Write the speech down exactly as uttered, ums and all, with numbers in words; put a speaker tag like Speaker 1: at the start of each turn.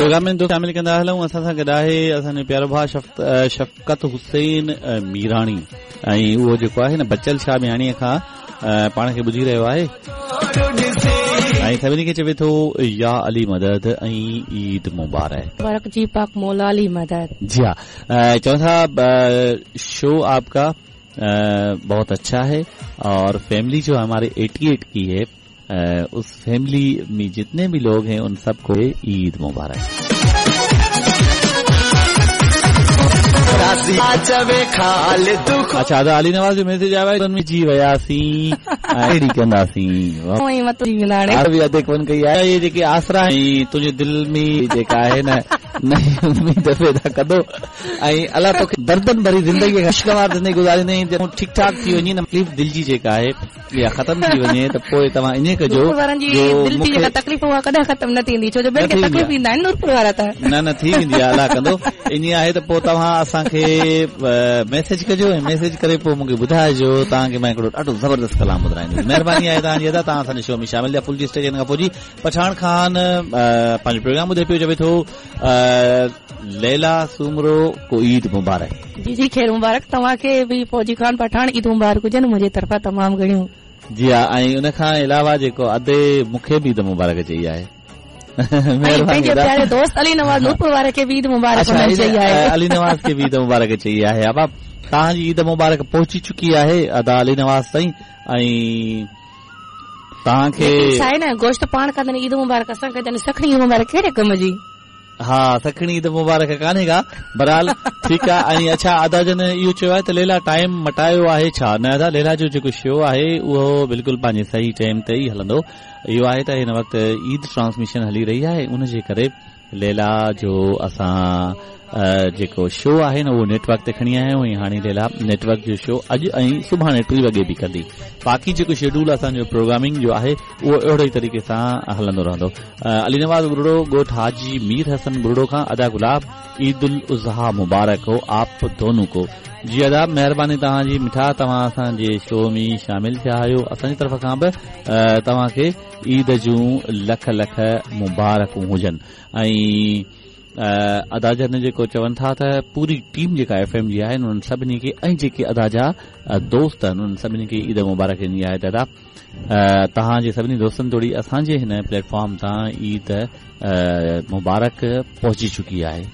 Speaker 1: Programme ۾ دوست شامل कंदा हलूं। असां सां गॾु आहे असांजो प्यारो भाउ शफ़क़त हुसैन मीराणी ऐं उहो जेको आहे न बचल शाह मियाणीअ खां पाण खे ॿुधी रहियो आहे ऐं सभिनी खे चवे थो या अली मदद ऐं ईद मुबारक।
Speaker 2: मुबारक जी पाक मौला अली मदद।
Speaker 1: जी हाँ, चवनि था शो आपका बहुत अच्छा है और फैमिली जो हमारे अठासी की है उस फैमिली में जितने भी लोग हैं उन सबको ईद मुबारक। अच्छा अदा अली नवाज़ जो मैसेज आयो आहे जी वियासीं अहिड़ी कंदासीं अधे कोन कई आहे। इहे जेके आसरा ऐं तुंहिंजे दिलि में जेका आहे न नई उम्मीद पैदा कंदो ऐं अलाह तोखे दर्दनि भरी ज़िंदगी ख़ुशगवार ज़िंदगी गुज़ारींदे ठीकु ठाक थी वञे न तकलीफ़ दिलि जी जेका आहे इहा ख़तमु थी वञे त पोइ तव्हां ईअं कजो
Speaker 2: तकलीफ़ उहा कॾहिं ख़तमु न थींदी छो जो ॿियनि खे तकलीफ़ ईंदा आहिनि नूरपुर वारा त
Speaker 1: न न थी वेंदी आहे अलाह कंदो। ईअं आहे त पोइ तव्हां असांखे मैसेज कजो ऐं मैसेज करे पोइ मूंखे ॿुधाइजो तव्हांखे मां हिकिड़ो ॾाढो ज़बरदस्त कलाम ॿुधाईंदुसि। महिरबानी आहे तव्हांजी अदा तव्हां असांजे शो में शामिल थिया। फुल जी स्टेशन खां पोइ जी पठान खान पंहिंजो प्रोग्राम ॿुधे पियो चवे थो लैला सूमरो को ईद मुबारक।
Speaker 2: जी जी ख़ैर मुबारक तव्हांखे बि फौजी खान पठान ईद मुबारक हुजनि मुंहिंजे तरफ़ां तमामु घणियूं।
Speaker 1: जी हा ऐं उन खां अलावा जेको अदे मूंखे बि ईद मुबारक चई आहे।
Speaker 2: पंहिंजे प्यारे दोस्त अली नवाज़ नूरपुर वारे खे बि ईद मुबारक चई आहे।
Speaker 1: अली नवाज़ खे बि ईद मुबारक चई आहे। आबा तव्हांजी ईद मुबारक पहुची चुकी आहे अदा अली नवाज़ ताईं ऐं तव्हांखे
Speaker 2: छा आहे न गोश्त पाण खांदा आहिनि ईद मुबारक असां खांदा आहिनि सखणी ईद मुबारक कहिड़े कम जी।
Speaker 1: हा सखणी ईद मुबारक कान्हे का बहरहाल ठीकु आहे। ऐं अच्छा अदा जन इहो चयो आहे त लैला टाइम मटायो आहे छा? न अदा लैला जो जेको शो आहे उहो बिल्कुलु पंहिंजे सही टाइम ते ई हलंदो। इहो आहे त हिन वक़्तु ईद ट्रांसमिशन हली रही आहे उनजे करे लैला जो असां जेको शो आहे न उहो नेटवर्क ते खणी आया आहियूं ऐं हाणे लैला नेटवर्क जो शो अॼु ऐं सुभाणे टी वॻे बि कंदी। बाक़ी जेको शेड्यूल असांजो प्रोग्रामिंग जो आहे उहो अहिड़ो ई तरीक़े सां हलंदो रहंदो। अली नवाज़ बुरड़ो ॻोठ हाजी मीर हसन बुरड़ो खां अदा गुलाब ईद उल अज़हा मुबारक हो आप दोनों को। जी अदा महिरबानी तव्हांजी मिठा तव्हां असांजे शो में शामिल थिया आहियो। असांजी तरफ़ खां बि तव्हांखे ईद जूं लख लख मुबारकूं हुजनि। ऐं अदा जन जेको चवनि था त पूरी टीम जेका एफ एम जी आहे उन्हनि सभिनी खे ऐं जेके अदा जा दोस्त आहिनि उन्हनि सभिनी खे ईद मुबारक ॾिनी आहे। त अदा तव्हांजे सभिनी दोस्तनि तोड़ी असांजे हिन प्लेटफॉर्म तां ईद मुबारक पहुची चुकी आहे।